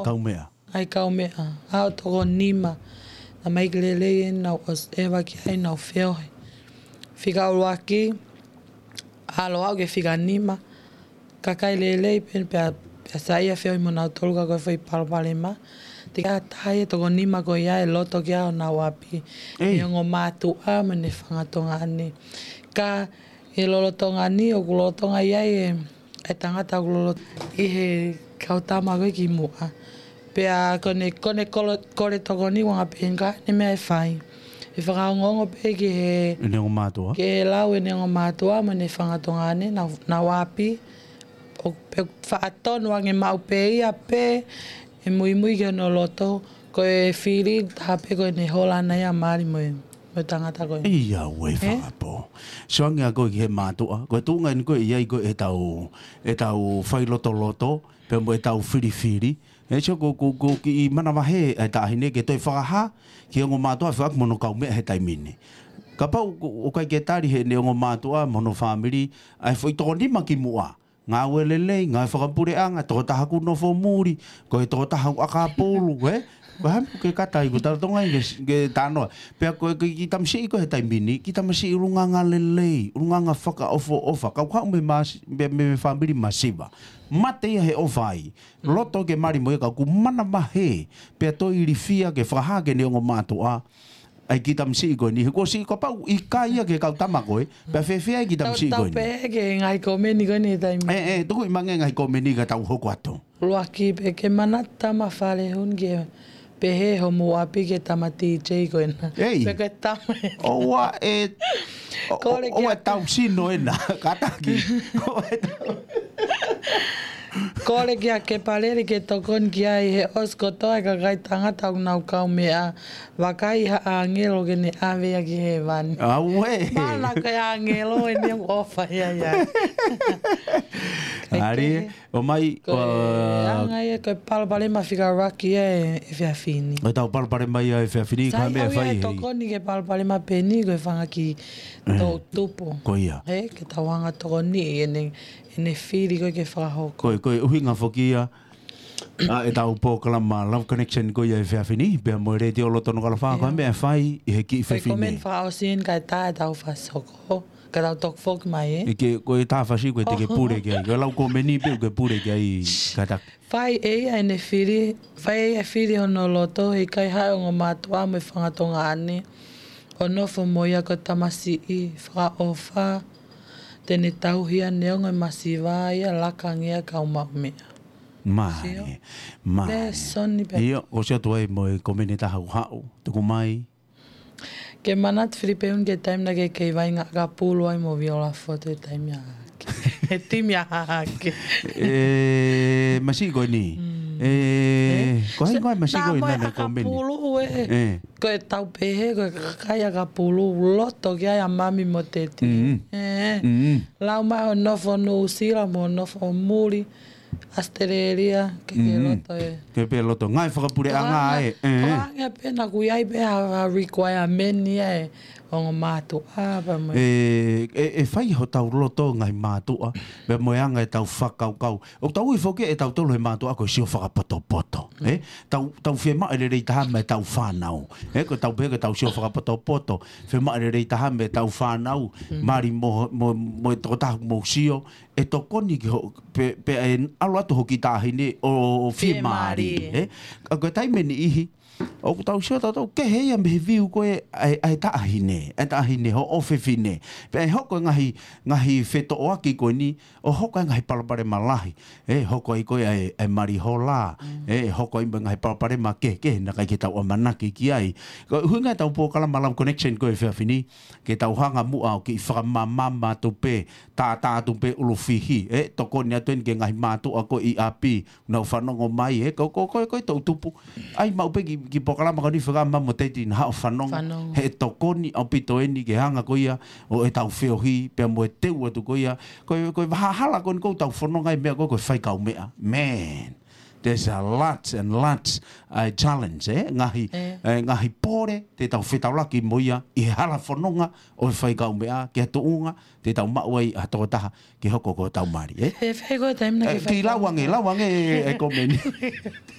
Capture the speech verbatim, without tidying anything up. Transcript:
kaumeʻa. Ngaahi kaumeʻa, ʻa e toko nima. Naʻe ʻikai ke lelei ʻenau ʻosi ʻeva ki ai ʻenau feohi. Fika ʻuluaki, ʻalu au ki he fika nima. Ka ʻikai lelei pē pea, pea saiʻia feohi mo nautolu ka ko e foʻi palopalema. Te ka taha ia toko nima ko ia ʻe loto ki ai honau ʻapi. Ei. ʻE ongo mātuʻa mo ʻene fanga tuongaʻane. Ka ʻi he lolotonga ni, ʻoku lolotonga ia ʻe, ʻe tangata ʻoku lolo ʻi he kau tama ko ē kimuʻa. Pea ko ʻene, ko ʻene kolo-, kole tokoni ʻuhinga pē he ngaahi meʻa ʻe fai. ʻE fakaongoongo pē ki he ʻene ongo mātuʻa. Ki he lau ʻene ongo mātuʻa mo ʻene fanga tuongaʻane, nau, nau ʻapi. ʻO pē faʻa tonu ange maʻu pē ia pē, ʻe muimui ki hono loto, ko e fili taha pē ko ʻene hola ʻana ia mali mo e, mo e tangata ko ē. ʻIa, ʻoku ʻi ai e fakapoʻuli. Sio ange ʻa koe ki he mātuʻa, ko e tuʻunga eni ko ē ʻi ai ko ē ʻetau, ʻetau failotoloto, pea mo ʻetau filifili. ʻE sio ko, ko, ko e kiʻi manavahē ʻa e taʻahine ke toe fakahā ki he ongo mātuʻa ʻa e foʻi ʻapi mo hono kaumeʻa he taimi ni. Kapau ʻoku, ʻoku ʻikai ke tali heʻene ongo mātuʻa mo hono fāmili, ʻa e foʻi toko nima kimuʻa. Ngāue lelei, ngāue fakapuleʻanga, tokotaha ʻoku nofo muli, ko e tokotaha ʻoku ʻakapulu, ē? Ko e hā e meʻa ʻoku ke kata ai, ʻoku tau tonga ai ke, ke talanoa. Pea ko e kiʻi tamasiʻi ko ē he taimi ni, kiʻi tamasiʻi ʻulungaanga lelei, ʻulungaanga fakaʻofoʻofa, kau haʻu mei he mas-, mei, mei he fāmili masiva. Mate ia he ʻofa ai. Loto ke mali mo ia ka ʻoku manavahē, pea toe ilifia ke fakahā ki heʻene ongo mātuʻa, ʻa e kiʻi tamasiʻi ko eni, he kuo siʻi kapau ʻikai ia ki he kau tama ko ē, pea fēfē ai kiʻi tamasiʻi ko eni. Tau, tau pehē ki he ngaahi komeni ko eni he taimi. ʻE, ʻe, tuku ʻi mangi ngaahi komeni ka tau hoko atu. ʻUluaki pē ke manatu tama fale hū ni ke pehē hoʻomo ʻapi ki he tama T J ko ena. Ei. Pe ko e tama ē. ʻOua ʻe, ʻo, Kole ʻo, ʻoua kia ʻe tau sino ena, kātaki. ʻOua ʻe tau. Kole kia Kepalele ke tokoni ki ai he ʻosi kotoa e kakai tangata ʻoku nau kaumeʻa. Vakai ha ʻāngelo ke ne ʻave ia ki hēvani. Auē. Mana ko e ʻāngelo eni ʻoku ʻofa ia ia. ʻAli, ʻomai, ko e ʻa, anga ia ko e palopalema fika ʻuluaki ia ʻe, ʻe efiafi ni. ʻO tau palopalema ia ʻe efiafi ni, ka Sai meʻa au ia fai e hei. Tokoni ki he palopalema pē ni ko e fanga kiʻi toʻutupu. Ko ia. He, ke tau hanga tokoni ʻi heʻene, ʻene fili ko ē ke fakahoko. Ko e, ko e ʻuhinga foki ia, ʻa ʻetau polokalama Love Connection ko ia ʻe efiafi ni, pea mo e Letiō Loto Nukuʻalofa, ko e meʻa fai ʻi he kiʻi fefine. Ko e komeni fakaʻosi eni kae tā ʻetau fakasoko, ka tau toki foki mai ē. ʻIkai, ko e tā fasi ko e te ke pule ki ai. Ko e lau komeni pē ʻoku ke pule ki ai kātaki. Fai ʻe ia ʻene fili, fai ʻe ia e fili hono loto, heʻikai haʻu e ongo mātuʻa mo e fanga tuongaʻane, ʻo nofo mo ia ko e tamasiʻi, fakaʻofa, te ne tauhi ʻa e ongo masiva ia laka ange ia kau maʻu meʻa. Mālie, mālie. Lēsoni pē. ʻIo, ʻosi atu ai mo e komeni ʻe taha ʻoku haʻu, tuku mai. Ke manatu Filipe ʻuhinga ki he taimi naʻa ke kei vaʻinga ʻakapulu ai mo Viola Fotu he taimi ʻa hake. He timi ʻa hake. ʻE, masiʻi ko eni. Mm. ʻE, ko hai ko e masiʻi ko eni naʻa ne komeni. ʻAkapulu ē. ʻE. Ko e tau pehē, ko e kakai ʻakapulu, loto ki ai ʻa mami mo teti. Mm. ʻE. Mm. Lau mai hoʻo nofo Nuʻusila mo hoʻo nofo muli. ʻAositelēlia, ke ke loto ē. Ke pē loto. Ngaahi fakapuleʻanga ē. Tokanga pē naʻa ʻoku ʻi ai pē ha, ha requirement ia ʻe ongo mātuʻa pea mo e. ʻE, ʻe, ʻe fai hotau loto ngaahi mātuʻa, pea mo e anga ʻetau fakakaukau. ʻOku tau ui foki ʻe tautolu he mātuʻa ko e sio fakapotopoto. ʻE, tau, tau fiemaʻu e lelei taha mei heʻetau fānau. ʻE, ko ʻetau pehē ko ʻetau sio fakapotopoto. Fiemaʻu e lelei taha mei heʻetau fānau. Mali mo, mo, mo e tokotaha mo sio. ʻE tokoni ki ho, pe, pe ʻe ʻalu atu hoʻo kiʻi taʻahine ʻo, ʻo fiemālie, ē? Ka ko e taimi ʻe niʻihi, ʻoku tau sio tautolu, kehe ia mei he viu ko ē ʻa e, ʻa e taʻahine, ʻa e taʻahine, hoʻo ʻofefine. Pea ʻe hoko e ngaahi, ngaahi fetoʻoaki ko eni, ʻo hoko e ngaahi palopalema lahi. ʻE hoko ai ko ē ʻa e, ʻa e mali hola, ʻe hoko ai mo e ngaahi palopalema kehekehe naʻe ʻikai ke tau ʻamanaki ki ai. Ko e ʻuhinga ʻetau polokalama Love Connection ko ē he efiafi ni, ke tau hanga muʻa ʻo kiʻi fakamāmā atu pē, tātā atu pē ʻulufihi, ʻe tokoni atu eni ki he ngaahi mātuʻa ko ē ʻi ʻapi, nau fanongo mai, ʻe ko, ko, ko, ko e toʻutupu. ʻAi maʻu pē kiʻi, kiʻi polokalama ko eni fekau mami mo teti naʻa haʻu ʻo fanongo. Fanongo. He tokoni ʻaupito eni ki he anga ko ia ʻo ʻetau feohi, pea mo e teu atu ko ia. Ko e, ko e vahahala ko eni ʻoku tau fononga ai meʻa ko ē, ko e fai kaumeʻa. Man, there's a lot and lots, uh, challenge, ʻe? Ngaahi, ʻe, ngaahi pole, te tau fetaulaki mo ia, ʻi he hala fononga ʻo e fai kaumeʻa, ki ha tuʻunga, te tau maʻu ai ha tokotaha ke hoko ko hotau mali, ʻe? He fai ko e taimi naʻa ke fai kaumeʻa. Kiʻi lau ange, lau ange e, e komeni.